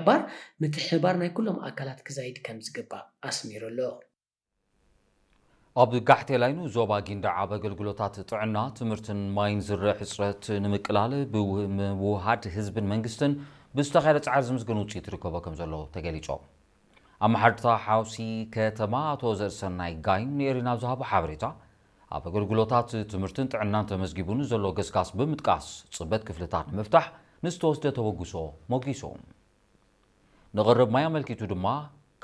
ብምሕባር፣ ምትሕብባር ናይ ኩሎም ኣካላት ክዛይድ ከም ዝግባእ ኣስሚሩ ኣሎ። ኣብ ጋሕቴ ላይኑ ዞባ ጊንዳዕ ኣብ ኣገልግሎታት ጥዕና፣ ትምህርትን ማይን ዝረአ ሕፅረት ንምቅላል ብምውሃድ ህዝብን መንግስትን ብዝተኻየደ ፃዕሪ ዝምስገን ውፅኢት ይርከቦ ከም ዘሎ ተገሊፁ። ኣመሓድርታ ሓውሲ ከተማ ኣቶ ዘርእሰናይ ጋይም ንኤሪና ኣብ ዝሃቦ ሓበሬታ፣ ኣብ ኣገልግሎታት ትምህርትን ጥዕናን ተመዝጊቡ ንዘሎ ገስጋስ ብምጥቃስ፣ ፅበት ክፍልታት ንምፍታሕ ንዝተወስደ ተበግሶ ሞጊሱ። ንቕርብ ማይ ኣመልኪቱ ድማ፣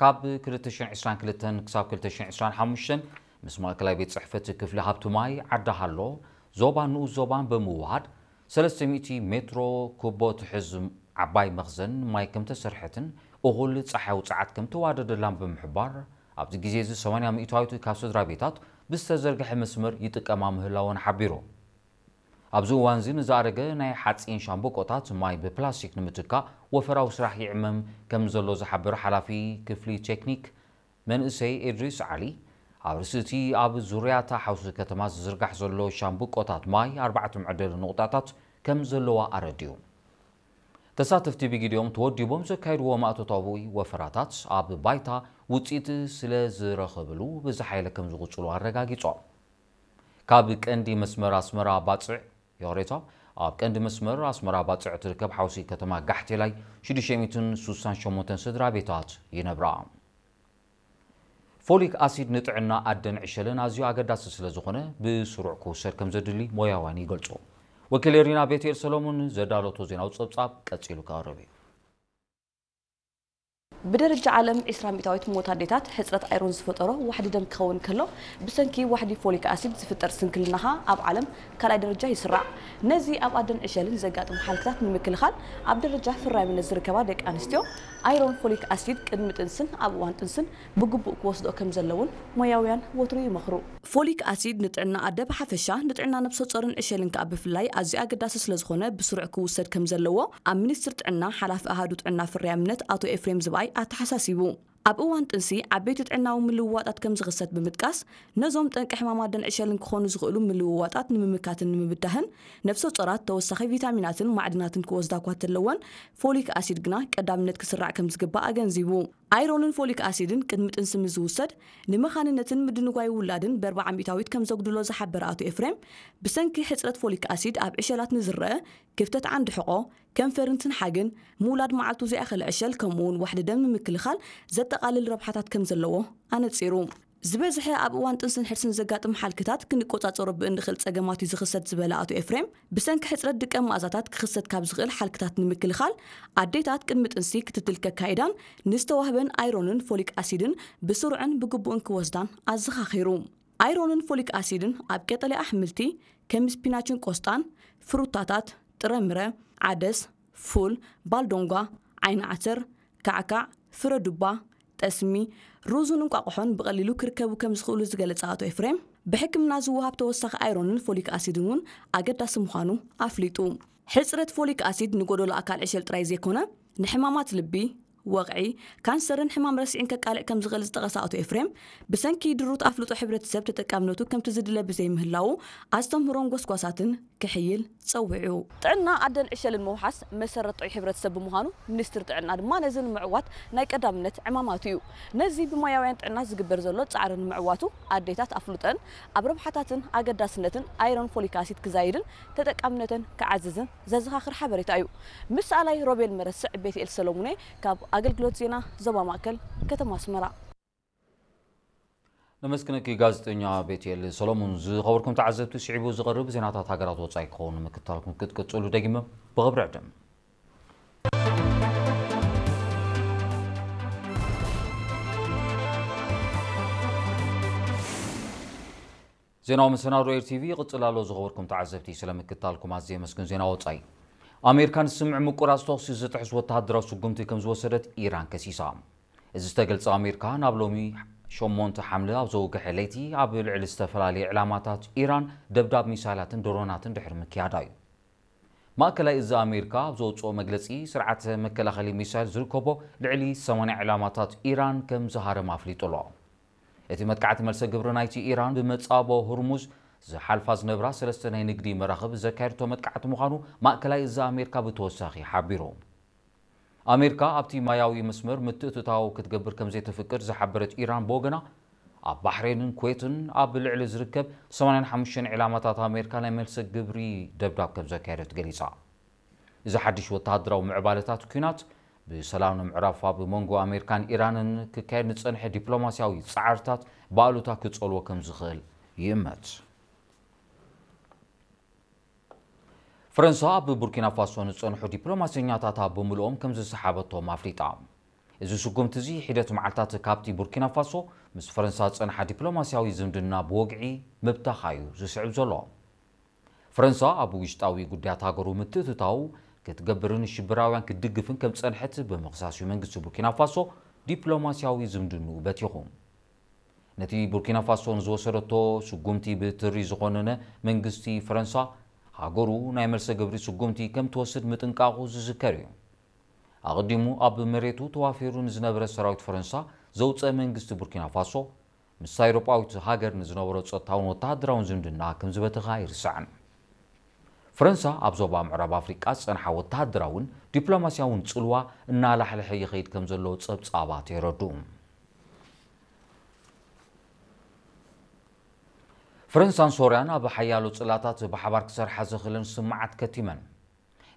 ካብ ክልተ ሽሕን ዕስራን ክልተን ክሳብ ክልተ ሽሕን ዕስራን ሓሙሽተን ምስ ማእከላይ ቤት ጽሕፈት ክፍሊ ሃብቲ ማይ ዓዲ ሃሎ፣ ዞባን ንኡስ ዞባን ብምውሃድ፣ ሰለስተ ሚእቲ ሜትሮ ኩቦ ትሕዝ ዓባይ መኽዘን ማይ ከም ተሰርሐትን እኹል ጸሓያዊ ጸዓት ከም ተዋደደላን ብምሕባር፣ ኣብዚ ግዜ እዚ ሰማንያ ሚእታዊት ካብ ስድራ ቤታት ብዝተዘርግሐ መስመር ይጥቀማ ምህላወን ሓቢሩ። ኣብዚ እዋን እዚ ንዝኣረገ ናይ ሓጺን ሻምብቆታት ማይ ብፕላስቲክ ንምትካእ ወፈራዊ ስራሕ ይዕመም ከም ዘሎ ዝሓበረ ሓላፊ ክፍሊ ቴክኒክ መንእሰይ ኢድሪስ ዓሊ፣ ኣብ ርእሲ እቲ ኣብ ዙርያታ ሓውሲ ከተማ ዝዝርጋሕ ዘሎ ሻምብቆታት ማይ ኣርባዕተ መዕደሊ ንቑጣታት ከም ዘለዋ ኣረዲኡ። ተሳተፍቲ ብጊዲኦም ተወዲቦም ዘካየድዎ ማእቶታዊ ወፈራታት ኣብ ባይታ ውፅኢት ስለ ዝረኸብሉ ብዝሓይለ ከም ዝቕፅሉ ኣረጋጊጾም። ካብ ቀንዲ መስመር ኣስመራ ባፅዕ፣ ይቕሬታ፣ ኣብ ቀንዲ መስመር ኣስመራ ባፅዕ ትርከብ ሓውሲ ከተማ ጋሕቴላይ ሽዱሽተ ሚእትን ስሳን ሸሞንተን ስድራ ቤታት ይነብራ። ፎሊክ ኣሲድ ንጥዕና ኣደን ዕሸልን ኣዝዩ ኣገዳሲ ስለ ዝኾነ ብስሩዕ ክውሰድ ከም ዘድሊ ሞያውያን ይገልጹ። ወኪል ኤሪና ቤትኤል ሰሎሞን ዘዳለቶ ዜናዊ ጸብጻብ ቀጺሉ ክቐርብ እዩ። ብደረጃ ዓለም ዒስራ ሚእታዊት ሞት ኣዴታት ሕጽረት ኣይሮን ዝፈጠሮ ዋሕዲ ደም ክኸውን ከሎ፣ ብሰንኪ ዋሕዲ ፎሊክ ኣሲድ ዝፍጠር ስንክልናኻ ኣብ ዓለም ካልኣይ ደረጃ ይስራዕ። ነዚ ኣብ ኣደን ዕሸልን ዘጋጥም ሓልክታት ንምክልኻል፣ ኣብ ደረጃ ፍራይምነት ዝርከባ ደቂ ኣንስትዮ፣ ኣይሮን ፎሊክ ኣሲድ ቅድሚ ጥንስን ኣብ እዋን ጥንስን ብግቡእ ክወስድኦ ከም ዘለውን ሞያውያን ወትሩ ይመኽሩ። ፎሊክ ኣሲድ ንጥዕና ኣደ ብሓፈሻ፣ ንጥዕና ነብሰ ጾርን ዕሸልን ከኣ ብፍላይ ኣዝዩ ኣገዳሲ ስለ ዝኾነ ብስሩዕ ክውሰድ ከም ዘለዎ ኣብ ሚኒስትሪ ጥዕና ሓላፊ ኣሃዱ ጥዕና ፍርያምነት ኣቶ ኤፍሬም ዝብኣይ ኣተሓሳሲቡ። ኣብ እዋን ጥንሲ ዓበይቲ ጥዕናዊ ምልውዋጣት ከም ዝኽሰት ብምጥቃስ፣ ነዞም ጠንቂ ሕማም ኣደን ዕሸልን ክኾኑ ዝኽእሉ ምልውዋጣት ንምምካትን ንምብዳህን ነብሰ ጾራት ተወሳኺ ቪታሚናትን ማዕድናትን ክወስዳ እኳ እንተለወን፣ ፎሊክ ኣሲድ ግና ቀዳምነት ክስራዕ ከም ዝግባእ ኣገንዚቡ። ኣይሮንን ፎሊክ ኣሲድን ቅድሚ ጥንሲ ምስ ዝውሰድ፣ ንመኻንነትን ምድንጓይ ውላድን ብኣርብዓ ሚእታዊት ከም ዘጉድሎ ዝሓበረ ኣቶ ኤፍሬም፣ ብሰንኪ ሕጽረት ፎሊክ ኣሲድ ኣብ ዕሸላት ንዝረአ ክፍተት ዓንዲ ሕቖ፣ ከንፈርን ትንሓግን፣ ምውላድ መዓልቱ ዘይኣኸለ ዕሸል፣ ከምኡ'ውን ዋሕዲ ደም ንምክልኻል ዘጠቓልል ረብሓታት ከም ዘለዎ ኣነጺሩ። ዝበዝሐ ኣብ እዋን ጥንስን ሕርስን ዘጋጥም ሓልክታት ክንቆጻጸሮ ብእንኽእል ጸገማት እዩ ዝኽሰት ዝበለ ኣቶ ኤፍሬም፣ ብሰንኪ ሕጽረት ድቀ መኣዛታት ክኽሰት ካብ ዝኽእል ሓልክታት ንምክልኻል፣ ኣዴታት ቅድሚ ጥንሲ ክትትል ከካይዳን ንዝተዋህበን ኣይሮንን ፎሊክ ኣሲድን ብስሩዕን ብግቡእን ክወስዳን ኣዘኻኺሩ። ኣይሮንን ፎሊክ ኣሲድን ኣብ ቀጠልያ ኣሕምልቲ ከም ስፒናችን ቆስጣን፣ ፍሩታታት፣ ጥረምረ፣ ዓደስ፣ ፉል፣ ባልዶንጓ፣ ዓይኒ ዓተር፣ ካዕካዕ፣ ፍረ ዱባ፣ ጠስሚ፣ ሩዝን እንቋቑሖን ብቐሊሉ ክርከቡ ከም ዝኽእሉ ዝገለጸ ኣቶ ኤፍሬም፣ ብሕክምና ዝወሃብ ተወሳኺ ኣይሮንን ፎሊክ ኣሲድን እውን ኣገዳሲ ምዃኑ ኣፍሊጡ። ሕጽረት ፎሊክ ኣሲድ ንጎደሎ ኣካል ዕሸል ጥራይ ዘይኮነ፣ ንሕማማት ልቢ፣ ወቕዒ፣ ካንሰርን ሕማም ረሲዕን ከቃልዕ ከም ዝኽእል ዝጠቐሰ ኣቶ ኤፍሬም፣ ብሰንኪ ድሩት ኣፍልጦ ሕብረተሰብ ተጠቃምነቱ ከምቲ ዝድለ ብዘይምህላዉ፣ ኣስተምህሮን ጎስጓሳትን ክሕይል ጸዊዑ። ጥዕና ኣደን ዕሸልን ምውሓስ መሰረት ጥዑይ ሕብረተሰብ ብምዃኑ፣ ሚኒስትሪ ጥዕና ድማ ነዚ ንምዕዋት ናይ ቀዳምነት ዕማማቱ እዩ። ነዚ ብሞያውያን ጥዕና ዝግበር ዘሎ ጻዕሪ ንምዕዋቱ፣ ኣዴታት ኣፍልጦን ኣብ ረብሓታትን ኣገዳስነትን ኣይሮን ፎሊክ ኣሲድ ክዛይድን ተጠቃምነተን ክዓዝዝን ዘዘኻኽር ሓበሬታ እዩ። ምስ ሰኣላይ ሮቤል መረስዕ፣ ቤትኤል ሰሎሙኔ ካብ ኣገልግሎት ዜና ዞባ ማእከል ከተማ ኣስመራ። ነመስግነኪ ጋዜጠኛ ቤትኤል ሰሎሙን። ዝኸበርኩም ተዓዘብቲ፣ ስዒቡ ዝቐርብ ዜናታት ሃገራት ወጻኢ ክኸውን ንምክትታልኩም ክትቅጽሉ ደጊመ ብኽብሪ ዕድም። ዜናዊ መሰናዶ ኤር ቲቪ ይቕጽል ኣሎ። ዝኸበርኩም ተዓዘብቲ፣ ስለ ምክትታልኩም ኣዝየ የመስግን። ዜና ወጻኢ። ኣሜሪካ ንስምምዕ ምቁራጽ ተኹሲ ዝጥሕስ ወተሃደራዊ ስጉምቲ ከም ዝወሰደት ኢራን ከሲሳ። እዚ ዝተገልጸ ኣሜሪካ ናብ ሎሚ ሸሞንተ ሓምለ ኣብ ዘውግሐ ለይቲ ኣብ ልዕሊ ዝተፈላለዩ ዕላማታት ኢራን ደብዳብ ሚሳይላትን ድሮናትን ድሕሪ ምክያዳ እዩ። ማእከላይ እዚ ኣሜሪካ ኣብ ዘውጽኦ መግለጺ፣ ስርዓተ መከላኸሊ ሚሳይል ዝርከቦ ልዕሊ ሰማንያ ዕላማታት ኢራን ከም ዝሃረም ኣፍሊጡ ኣሎ። እቲ መጥቃዕቲ መልሰ ግብሪ ናይቲ ኢራን ብመጻቦ ሁርሙዝ ዝሓልፋ ዝነብራ ሰለስተ ናይ ንግዲ መራኽብ ዘካየድቶ መጥቃዕቲ ምዃኑ ማእከላይ እዚ ኣሜሪካ ብተወሳኺ ሓቢሩ። ኣሜሪካ ኣብቲ ማያዊ መስመር ምትእትታው ክትገብር ከም ዘይተፍቅድ ዝሓበረት ኢራን ብወገና፣ ኣብ ባሕሬንን ኩዌትን ኣብ ልዕሊ ዝርከብ ሰማንያን ሓሙሽተን ዒላማታት ኣሜሪካ ናይ መልሰ ግብሪ ደብዳብ ከም ዘካየደት ገሊጻ። እዚ ሓድሽ ወተሃደራዊ ምዕባለታት ኲናት፣ ብሰላም ንምዕራፍ ኣብ መንጎ ኣሜሪካን ኢራንን ክካየድ ንጸንሐ ዲፕሎማስያዊ ጻዕርታት ብኣሉታ ክጸልዎ ከም ዝኽእል ይእመት። ፈረንሳ ኣብ ቡርኪና ፋሶ ንጸንሑ ዲፕሎማሰኛታታ ብምልኦም ከም ዝሰሓበቶም ኣፍሊጣ። እዚ ስጉምቲ እዚ ሒደት መዓልታት ካብቲ ቡርኪና ፋሶ ምስ ፈረንሳ ዝጸንሓ ዲፕሎማስያዊ ዝምድና ብወግዒ ምብታኻ እዩ ዝስዕብ ዘሎ። ፈረንሳ ኣብ ውሽጣዊ ጉዳያት ሃገሩ ምትእትታው ክትገብርን ሽበራውያን ክትድግፍን ከም ዝጸንሐት ብምኽሳስ እዩ መንግስቲ ቡርኪና ፋሶ ዲፕሎማስያዊ ዝምድንኡ በቲኹ። ነቲ ቡርኪና ፋሶ ንዝወሰደቶ ስጉምቲ ብትሪ ዝኾነነ መንግስቲ ፈረንሳ፣ ሃገሩ ናይ መልሰ ግብሪ ስጉምቲ ከም ትወስድ ምጥንቃቑ ዝዝከር እዩ። ኣቐዲሙ ኣብ መሬቱ ተዋፊሩ ንዝነበረ ሰራዊት ፈረንሳ ዘውፀ መንግስቲ ቡርኪና ፋሶ፣ ምስ ኣውሮጳዊት ሃገር ንዝነበሮ ጸጥታውን ወተሃደራውን ዝምድና ከም ዝበተኻ ኣይርሳዕን። ፈረንሳ ኣብ ዞባ ምዕራብ ኣፍሪቃ ዝጸንሓ ወተሃደራውን ዲፕሎማስያውን ጽልዋ እናላሕለሐ ይኸይድ ከም ዘሎ ጸብጻባት የረድኡ። ፈረንሳን ሶርያን ኣብ ሓያሎ ጽላታት ብሓባር ክሰርሓ ዘኽእለን ስምዓት ከቲመን።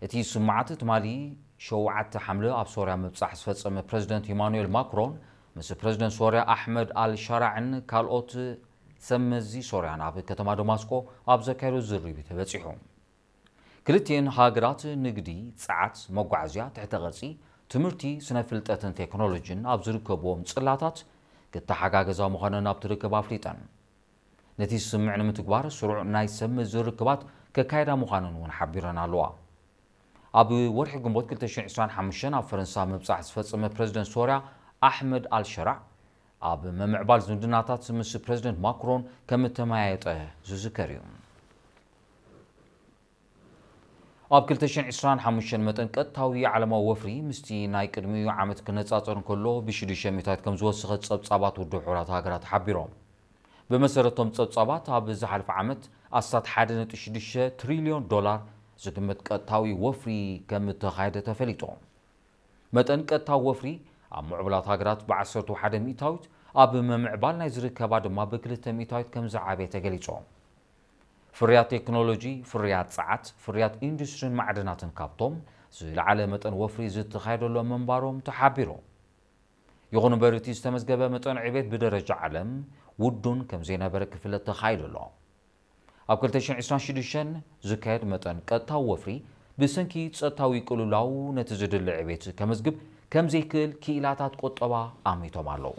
እቲ ስምዓት ትማሊ ሸውዓተ ሓምለ ኣብ ሶርያ ምብጻሕ ዝፈጸመ ፕረዚደንት ኢማኑኤል ማክሮን ምስ ፕረዚደንት ሶርያ ኣሕመድ ኣል ሻራዕን ካልኦት ሰብ መዚ ሶርያን ኣብ ከተማ ደማስቆ ኣብ ዘካየዶ ዝርርብ እዩ ተበጺሑ። ክልቲኤን ሃገራት ንግዲ፣ ጸዓት፣ መጓዓዝያ፣ ትሕተ ቅርጺ፣ ትምህርቲ፣ ስነ ፍልጠትን ቴክኖሎጂን ኣብ ዝርከብዎም ጽላታት ክተሓጋገዛ ምዃነን ኣብቲ ርክብ ኣፍሊጠን። ነቲ ስምምዕ ንምትግባር ስሩዕ ናይ ሰብ መዚ ርክባት ከካየዳ ምዃነን እውን ሓቢረን ኣለዋ። ኣብ ወርሒ ግንቦት ክልተ ሽሕን ዕስራን ሓሙሽተን ኣብ ፈረንሳ ምብጻሕ ዝፈጸመ ፕረዚደንት ሶርያ ኣሕመድ ኣልሸራዕ ኣብ ምምዕባል ዝምድናታት ምስ ፕረዚደንት ማክሮን ከም እተመያየጠ ዝዝከር እዩ። ኣብ ክልተ ሽሕን ዕስራን ሓሙሽተን መጠን ቀጥታዊ ዓለማዊ ወፍሪ ምስቲ ናይ ቅድሚኡ ዓመት ክነጻጸር እንከሎ ብሽዱሽተ ሚእታዊት ከም ዝወሰኸ ጸብጻባት ውድብ ሕቡራት ሃገራት ሓቢሮም። ብመሰረቶም ጸብጻባት ኣብ ዝሓለፈ ዓመት ኣስታት ሓደ ነጥቢ ሽዱሽተ ትሪልዮን ዶላር ዝግመት ቀጥታዊ ወፍሪ ከም እተኻየደ ተፈሊጡ። መጠን ቀጥታዊ ወፍሪ ኣብ ምዕቡላት ሃገራት ብ ዓሰርተ ሓደ ሚእታዊት፣ ኣብ ምምዕባል ናይ ዝርከባ ድማ ብ ክልተ ሚእታዊት ከም ዝዓበየ ተገሊጹ። ፍርያት ቴክኖሎጂ፣ ፍርያት ጸዓት፣ ፍርያት ኢንዱስትሪን ማዕድናትን ካብቶም ዝለዓለ መጠን ወፍሪ ዝተኻየደሎም ምንባሮም ተሓቢሩ። ይኹን እምበር እቲ ዝተመዝገበ መጠን ዕቤት ብደረጃ ዓለም ውዱን ከም ዘይነበረ ክፍለጥ ተኻይሉ ኣሎ። ኣብ ክልተ ሽሕን ዕስራን ሽዱሽተን ዝካየድ መጠን ቀጥታዊ ወፍሪ ብሰንኪ ጸጥታዊ ቅልውላው ነቲ ዝድለ ዕቤት ከመዝግብ ከም ዘይክእል ክኢላታት ቁጠባ ኣሚቶም ኣለዉ።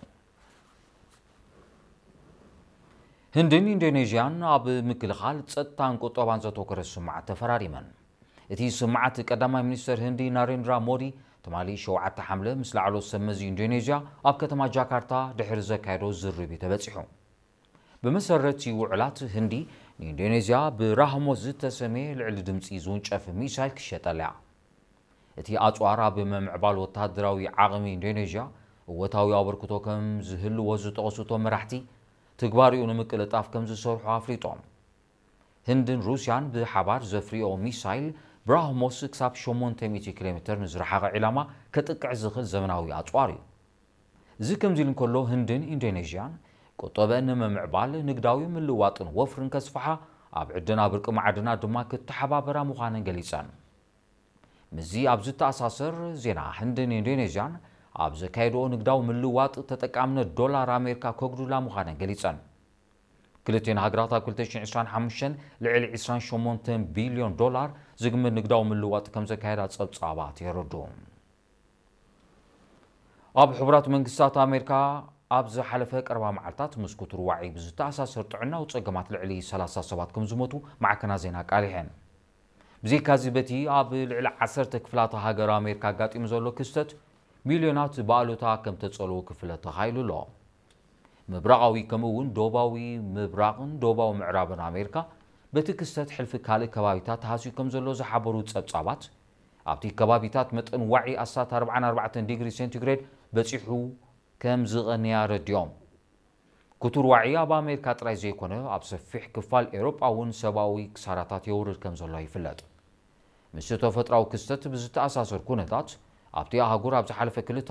ህንድን ኢንዶኔዥያን ኣብ ምክልኻል ጸጥታን ቁጠባን ዘተኮረ ስምምዓት ተፈራሪመን። እቲ ስምምዓት ቀዳማይ ሚኒስተር ህንዲ ናሬንድራ ሞዲ ትማሊ ሸውዓተ ሓምለ ምስ ላዕለዎት ሰብ መዚ ኢንዶኔዥያ ኣብ ከተማ ጃካርታ ድሕሪ ዘካየዶ ዝርርብ እዩ ተበጺሑ። ብመሰረት ውዕላት ህንዲ ንኢንዶኔዝያ ብራህሞስ ዝተሰምየ ልዕሊ ድምፂ ዝውንጨፍ ሚሳይል ክሸጠላ እያ። እቲ ኣፅዋር ኣብ ምምዕባል ወታደራዊ ዓቕሚ ኢንዶኔዝያ እወታዊ ኣበርክቶ ከም ዝህልዎ ዝጠቐሱ እቶም መራሕቲ፣ ትግባሪኡ ንምቅልጣፍ ከም ዝሰርሑ ኣፍሊጦም። ህንድን ሩስያን ብሓባር ዘፍርዮ ሚሳይል ብራህሞስ ክሳብ ሸሞንተ ሚእቲ ኪሎ ሜትር ንዝረሓቐ ዒላማ ከጥቅዕ ዝኽእል ዘመናዊ ኣፅዋር እዩ። እዚ ከምዚ ኢሉ እንከሎ፣ ህንድን ኢንዶኔዥያን ቁጠበአን ንምምዕባል ንግዳዊ ምልውዋጥን ወፍርን ከስፍሓ፣ ኣብ ዕደና ብርቂ ማዕድናት ድማ ክተሓባበራ ምዃነን ገሊጸን። ምስዚ ኣብ ዝተኣሳሰር ዜና፣ ህንድን ኢንዶኔዥያን ኣብ ዘካየድኦ ንግዳዊ ምልውዋጥ ተጠቃምነት ዶላር ኣሜሪካ ከጉድላ ምዃነን ገሊጸን። ክልቲኤን ሃገራት ኣብ ክልተ ሽሕን ዕስራን ሓሙሽተን ልዕሊ ዕስራን ሸሞንተን ቢልዮን ዶላር ዝግመት ንግዳዊ ምልውዋጥ ከም ዘካየዳ ጸብጻባት የረድኡ። ኣብ ሕቡራት መንግስታት ኣሜሪካ ኣብ ዝሓለፈ ቀረባ መዓልታት ምስ ክቱር ዋዒ ብዝተኣሳሰር ጥዕናዊ ጸገማት ልዕሊ ሰላሳ ሰባት ከም ዝሞቱ ማዕከናት ዜና ኣቃሊሐን። ብዘይካዚ በቲ ኣብ ልዕሊ ዓሰርተ ክፍላተ ሃገር ኣሜሪካ ኣጋጢሙ ዘሎ ክስተት ሚልዮናት ብኣሉታ ከም ተጸልዉ ክፍለጥ ተኻኢሉ ኣሎ። ምብራቓዊ ከምኡ እውን ደቡባዊ ምብራቕን ደቡባዊ ምዕራብን ኣሜሪካ በቲ ክስተት ሕልፊ ካልእ ከባቢታት ተሃስዩ ከም ዘሎ ዝሓበሩ ጸብጻባት፣ ኣብቲ ከባቢታት መጠን ዋዒ ኣስታት ኣርባዓን ኣርባዕተን ዲግሪ ሴንቲግሬድ በጺሑ ከም ዝቐንየ ኣረዲኦም። ክቱር ዋዒ ኣብ ኣሜሪካ ጥራይ ዘይኮነ ኣብ ሰፊሕ ክፋል ኤውሮጳ እውን ሰብኣዊ ክሳራታት የውርድ ከም ዘሎ ይፍለጥ። ምስቲ ተፈጥሮኣዊ ክስተት ብዝተኣሳሰር ኩነታት፣ ኣብቲ ኣህጉር ኣብ ዝሓለፈ ክልተ